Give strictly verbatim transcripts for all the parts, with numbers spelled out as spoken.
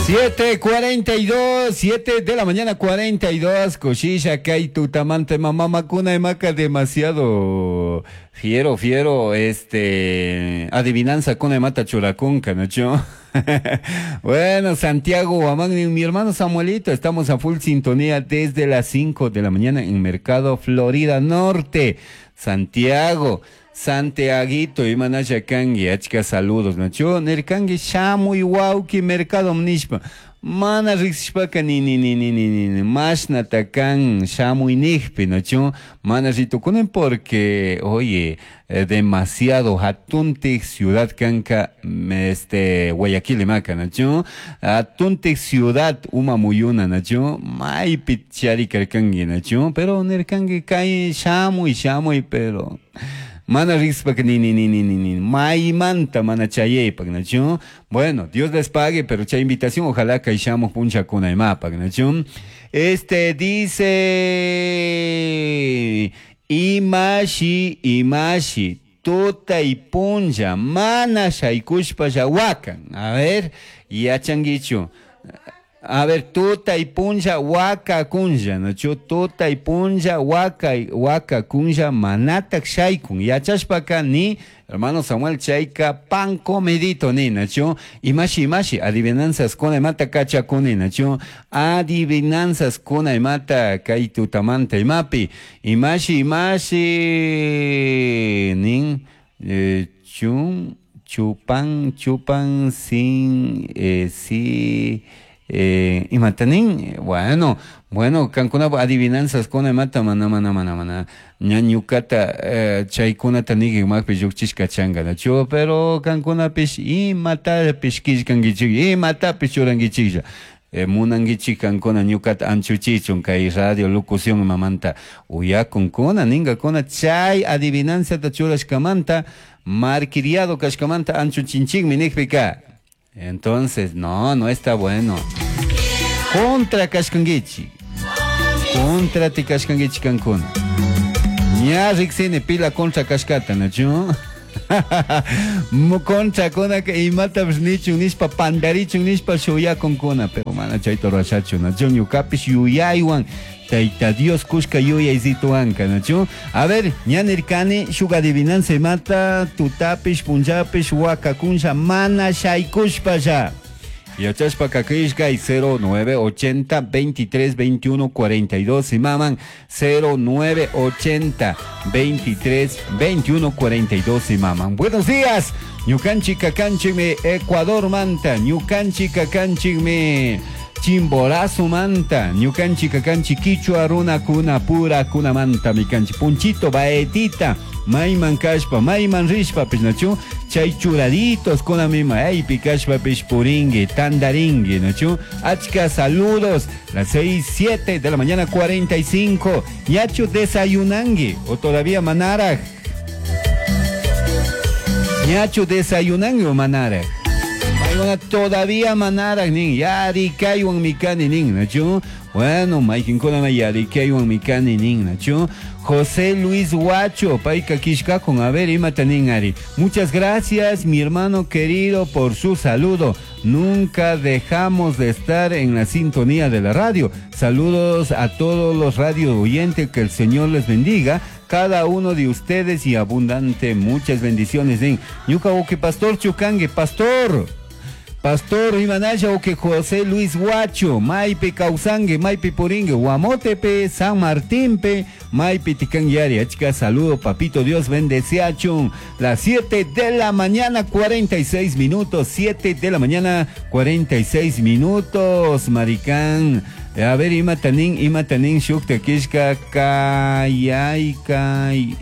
Siete cuarenta y dos, siete de la mañana cuarenta y dos, Cosilla, kay tutamante mamá macuna maca demasiado fiero, fiero, este, adivinanza con mata churacunca, ¿no? Bueno, Santiago Guamán, mi hermano Samuelito, estamos a full sintonía desde las cinco de la mañana en Mercado Florida Norte, Santiago. Santiaguito, imanasha kangi, achka saludos, nacho, nirkangi shamuy wawki mercado nishpa, mana riqsishpaka ni ni ni ni ni ni ni mashnata kan shamuy nijpi, nacho, mana ritukunin porque, oye, eh, demasiado hatuntik ciudad kanka, este, Guayaquil imaka, nacho, hatuntik ciudad uma muyuna, nacho, maypi chari karkangi, nacho, pero nirkangi kay shamuy, shamuy, pero mana riqspak ni ni ni ni ni ni maymanta mana chayaypak, nacho. Bueno, Dios les pague, pero chay invitación, ojalá que shamuj punchakuna imapak, nacho. Este dice imashi imashi tuta y punlla mana shaykushpa llawakan. A ver, yachanguichu. A ver, tuta y punlla waka kunlla, nacho, tuta y punlla waka waka kunlla manatak shaykun. Yachashpaka ni hermano Samuel chayka pan comedito ni, nacho, imashi imashi adivinanzas kuna imata kachakuni, nacho, adivinanzas kuna imata kay tutamanta imapi, imashi imashi nin eh, chun chupan chupan sin eh, si Eh, imatanin, bueno, bueno, kankuna adivinanzas kuna mata mana mana mana mana ñañukata eh, chaykunata nigi makpi llukchishka changa, nacho, pero kankunapish imatapish killkankichik, imatapish churankichiklla. Eh, munankichik kankuna ñukata anchuchichun kay radio locución mamanta uyakunkuna ningakuna chay adivinanzata churashkamanta marquiriado kashkamanta anchuchinchikmi nijpika. Entonces, no, no está bueno. Contra kashkankichik. Contra ti kashkankichik kankuna. Ña riqsini pila contra kashkata, nachu. Contra kuna que imatapish nichun nishpa pandarichun nishpa shuyakunkuna, pero mana chayta rurashachu, nachu, ñukapish yuyaywan Tayta Dios kushka yuyaysituwanka, nachu. A ver, ña nirkani shuk adivinanza imata tutapish punllapish wakakunlla mana shaykushpalla. Yachashpa kakishkay cero nueve ochenta veintitrés veintiuno cuarenta y dos imaman cero nueve ochenta veintitrés veintiuno cuarenta y dos imaman. Buenos días, ñukanchik kakanchikmi Ecuador manta, ñukanchik kakanchikmi Chimborazo manta, ñukanchik kakanchik quichua runa kuna pura kuna manta mikanchik punchito baetita mayman kashpa mayman rishpa nachu chay churaditos kuna mima aypi kashpa pish puringui tandaringui nachu. Achka saludos, las seis siete de la mañana cuarenta y cinco. Ñachu desayunangui o todavía manaraj. Ñachu desayunangui o manaraj. Todavía manaraj nin yarikaywan mikani nin nachu. Bueno, maykinkuna yarikaywan mikani nin nachu. José Luis Huacho, payka kishkakun, a ver, imata nin ari. Muchas gracias, mi hermano querido, por su saludo. Nunca dejamos de estar en la sintonía de la radio. Saludos a todos los radio oyentes, que el Señor les bendiga. Cada uno de ustedes y abundante, muchas bendiciones. Nin. Ñuka uki pastor chukangue, pastor. Pastor Imanaya o que José Luis Huacho, Maipi Causangue, Maipi Puringue, Guamotepe, San Martínpe, Maipi Ticanguiari. Achka, saludo, papito Dios bendeciachun. Las siete de la mañana, cuarenta y seis minutos, siete de la mañana, cuarenta y seis minutos, maricán. A ver, imatanin, imatanin, shukta kishka, kayay, kay,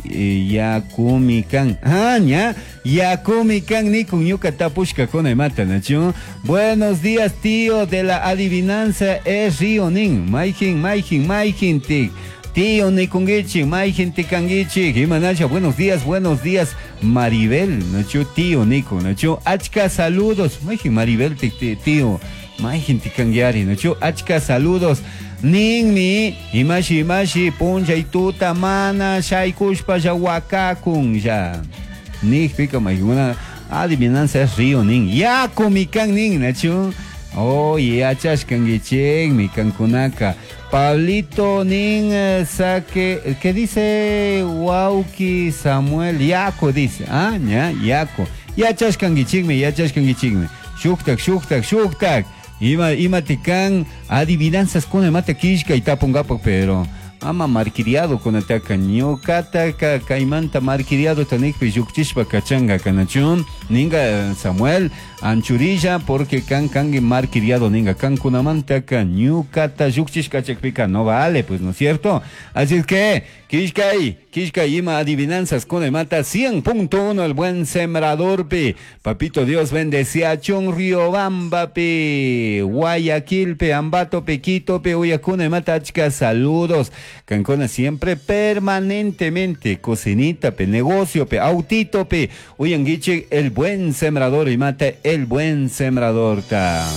yakumikan. Ah, ña, yakumikan, nikun, ñuka tapushka kuna imata, nachu. Buenos días, tío de la adivinanza, es río nin. Maijin, maijin, maijin, tik. Tío nikungichi, maijin tikangichi. Imanacha, buenos días, buenos días, Maribel, nachu, tío niku, nachu. Achka, saludos, maijin, Maribel, tío. Maijin tikanguiari, nachu, achka saludos. Ninmi, imashi, imashi, puncha y tuta, mana, shaykushpa, ya wakakun, ya. Nik, pica, maijuna, adivinanza es río, nin. Yakumikan, nin, nachu. Oh, yachashkankichikmi kankunaka. Pablito nin eh, saque, ¿qué dice Wauki Samuel? Yaku dice, ah, ya, yaku. Yachashkankichikmi, yachashkankichikmi. Shuktak, shuktak, shuktak. Ima, ima tikan adivinanzas kuna imata killkay tapunkapak, pero ama marquiriado kunataka ñukataka kaymanta marquiriado tanikpi llukchishpa kachanka kanachun ninga Samuel anchurilla porque kan kangi marquiriado ninga kankunamantaka ñukata llukchishka kachakpika no vale pues no es cierto así es que killkay killkay ima adivinanzas kuna imata cien punto uno el buen sembrador pi papito Dios bendecía chun Riobamba pi Guayaquil pi Ambato pi Quito pi uyakuna imata achka saludos Cancona siempre permanentemente cocinita pe negocio pe autito pe uyanguiche el buen sembrador y mata el buen sembrador ta.